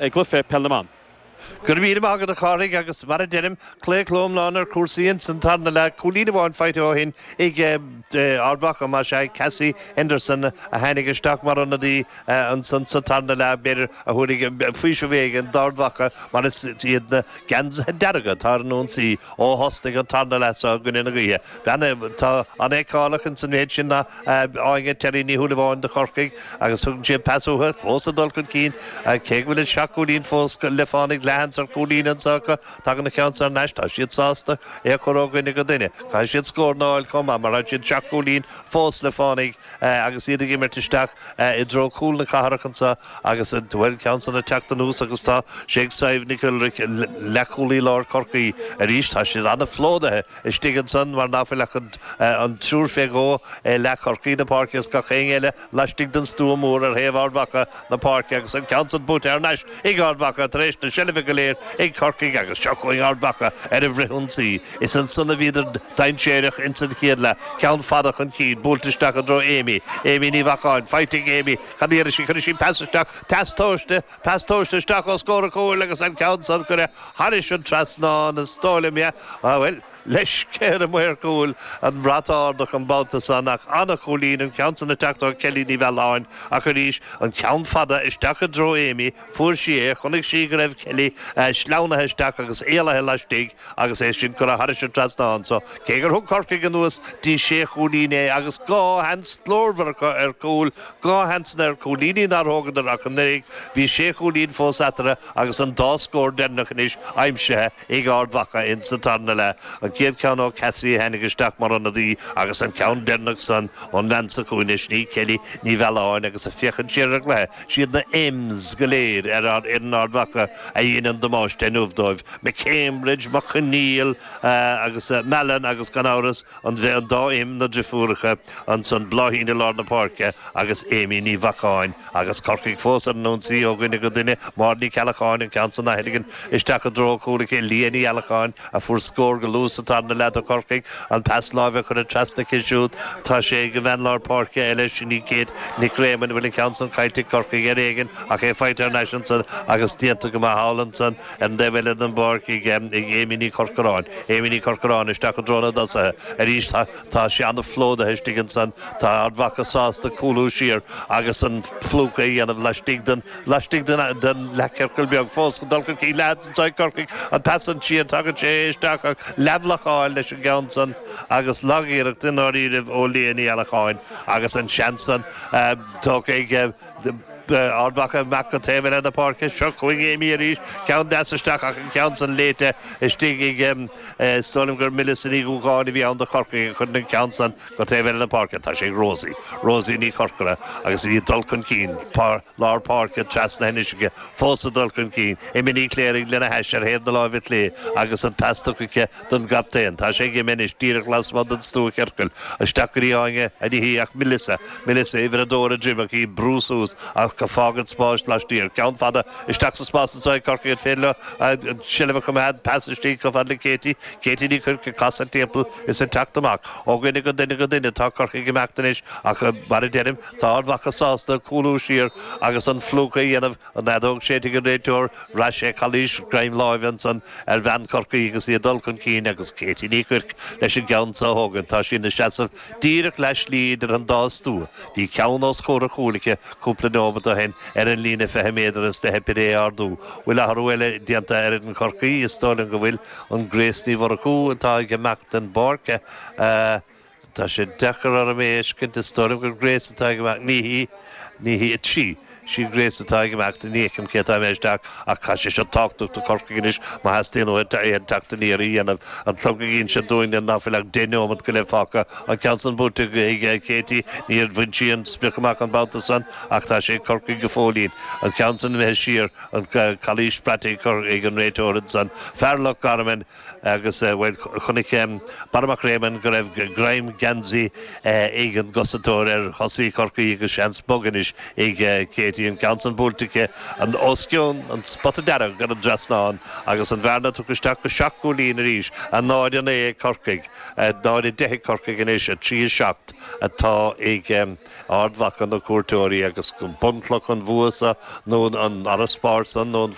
I gcluiche Peil na mBan. Go raibh míle maith agat a Chárthaigh agus mar a deirim, claochló iomlán ar chúrsaí ins an tarna leath, cúilín amháin faighte ó shin ag Ard Mhacha, más ea, Cassie Henderson a tháinig isteach mar ionadaí ansan sa tarna leath, b'fhéidir, a thabharfaidh faoiseamh éigin d'Ard Mhacha mar is iad na geansaithe dearga atá ar an ionsaí ó thosnaigh an tarna leath seo i gcoinne na gaoithe. Bean atá an-fheiceálach ins an mhéid sin ná Áine Terry Ní Shúilleabháin do Chorcaigh agus tugann sí an pas uathu, fós ag dul chun cinn, cé go bhfuil an seacht gcúilín fós le fánaigh, leathsheans ar chúilín anseo acu, tagann an ceann seo thar n-ais, tá siad sásta é a chur ó dhuine go duine. Caithfidh siad scóranna a fháil chomh maith mar tá siad seacht gcúilín fós le fánaigh agus iad ag imirt isteach i dtreo cúl na cathrach anseo agus bhuel an ceann san ag teacht anuas agus tá sé ag Sadhbh Nic Uilrich, leathchúlaí láir Chorcaí arís. Tá siad an-phlódaithe istigh ansan mar ná fuil ach an triúr fé dhó i leath Chorcaí na páirce is gach éinne eile laistigh den stua mór ar thaobh Ard Mhacha na páirce agus an ceann san buaite thar n-ais ag Ard Mhacha tar éis na seilbhe go léir ag Corcaigh agus seo chugainn Ard Mhacha ar an bhfrithionsaí. Is ansan a bhíodar dainséarach ins an chéad leath. Ceann fada chun cinn, buailte isteach i dtreo Amy. Amy Ní Bheacháin, faighte ag Amy. Cad a dhéanfaidh sí? Cuirfidh sí pas isteach. Pas tomhaiste, pas tomhaiste isteach os comhair an chúil agus an ceann san curtha thairis an trasnán is dóigh liom, yeah. Bhuel, leisce ar an maor cúil an brat a ardach an babhta san ach an-chúilín an ceann san ag teacht ó Kelly Ní Mhealláin ach arís an ceann fada isteach i dtreo Amy, fuair sí é, chonaic sí go raibh Kelly sleamhnaithe isteach agus éalaithe laistigh agus é sin curtha thairis an trasnán so cé gur thug Corcaigh anuas dtí sé chúilín é agus dhá sheans glórmhar acu ar chúl, dhá sheansanna ar chúilíní nár thógadar ach an oiread, bhí sé chúilín fós eatarthu agus an dá scór deireanach anois aimsithe ag Ard Mhacha in sa tarna leath. An chéad cheann ó Cassie a tháinig isteach mar ionadaí agus an ceann deireanach san ón bhean sa chúinne, sin í Kelly Ní Mhealláin agus ag féachaint siar ar an gcluiche, siad na M's go léir ar fhoireann Ard Mhacha a dhein an damáiste inniu dóibh, McCambridge, Mac Conghail agus Mallon agus gan amhras an dá M, na driofúracha ansan, Bláithín i lár na páirce agus Amy Ní Bheacháin agus Corcaigh fós ar an ionsaí ó dhuine go duine, Máire Ní Cheallacháin an ceann san á theilgean isteach i dtreo chúil aici, Leah Ní Fheallacháin a fuair scór go luath sa tarna leath do Chorcaigh, an pas láimhe curtha trasna aici siúd, tá sé ag an bhean lár páirce eile, sin í Kate Nic Réamoinn, bhfuil an ceann san caillte ag Corcaigh ar éigin ach é faighte thar n-ais ansan agus déanta go maith thall ansan ar an dtaobh eile den bpáirc ag Amy Ní Chorcoráin. Amy Ní Chorcoráin isteach i dtreo na dtosaithe arís. Tá sé an-phlódaithe istigh ansan. Tá Ard Mhacha sásta cúlú siar agus an phlúchadh a dhéanamh laistigh den laistigh den den leathchiorcal beag. Fós ag dul chun cinn leathsheans anso ag Corcaigh. An pas san siar, tagann sé isteach ach leathbhlocáil leis an gceann san agus lagiarracht i ndáiríribh ó Leah Ní Fheallacháin agus an seans san tógtha ag Ard Mhacha amach go taobh eile na páirce. Seo chugainn Amy arís. Ceann deas isteach ach an ceann san léite istigh ag, is dóigh liom gur Melissa Ní Dhúgáin a bhí ann do Chorcaigh a chuireann an ceann san go taobh eile na páirce. Tá sé ag Rosie, Rosie Ní Chorcora agus í ag dul chun cinn. Lár páirce trasna anois aici, fós ag dul chun cinn. Emma Ní Chléirigh lena hais ar thaobh na láimhe clé agus an pas tugtha aici don gcaptaen. Tá sé ag Emma anois díreach lasmuigh den stuachiorcal. Isteach go dtí Áine, ní hí ach Melissa. Melissa, uimhir a dó ar a droim ach í ag brú suas ach ag fágaint spáis laistiar. Ceann fada isteach sa spás anseo ag Corcaigh an féidir leo an tseilbh a choimeád. Pas istigh chomh fada le Katie. Katie Ní Chuirc ag casadh timpeall is ag teacht amach. Ó dhuine go duine go duine tá Corcaigh ag imeacht anois ach mar a deirim tá Ard Mhacha sásta cúlú siar agus an phlúchadh a dhéanamh. An fheadóg séidte ag an réiteoir, bhraith sé calaois, greim láimhe ansan ar bhean Chorcaí agus í ag dul chun cinn agus Katie Ní Chuirc leis an gceann so a thógaint. Tá sí ina seasamh díreach leath slí idir an dá stua. Bhí ceann os comhair an chúil aici cúpla neomat ó shin ar an líne 20 méadar is do theip uirthi é a ardú. Bhfuil athrú eile déanta ar fhoireann Chorcaí? Is dóigh liom go bhfuil. An Grace Ní Mhurchú atá ag imeacht den bpáirc. Tá sé deacair orm é a fheiscint, is dóigh liom gur Grace atá ag imeacht, ní hí, ní hí, 3, sí Grace atá ag imeacht, ní fheicim cé atá imithe isteach ach tá sé seo tábhachtach do Chorcaigh anois má theastaíonn uathu aon teacht aniar a dhéanamh. An clog ag inse dúinn ná fuil ach 10 neomat go leith fágtha. An ceann san buaite ag Katie, níor bhain sí an sprioc amach an babhta san ach tá sé ag Corcaigh go fóillín. An ceann san imithe siar, an calaois braite ag an réiteoir ansan. Fear Loch Garman. Agus, bhuel, chonaic Barra Mac Réamoinn go raibh greim geansaí ag an gcosantóir ar thosaí Chorcaí agus seans bog anois ag Katie. Katie, an ceann san buailte aici os cionn an spota dearg ar an dtrasnán agus an bhearna tugtha isteach go seacht gcúilín arís, 0, 9 ag Corcaigh, 0, 10 ag Corcaigh anois, 3, 7 atá ag Ard Mhacha, na cuairteoirí, agus bunchloch an bhua seo nó an fharasbarr san nó an.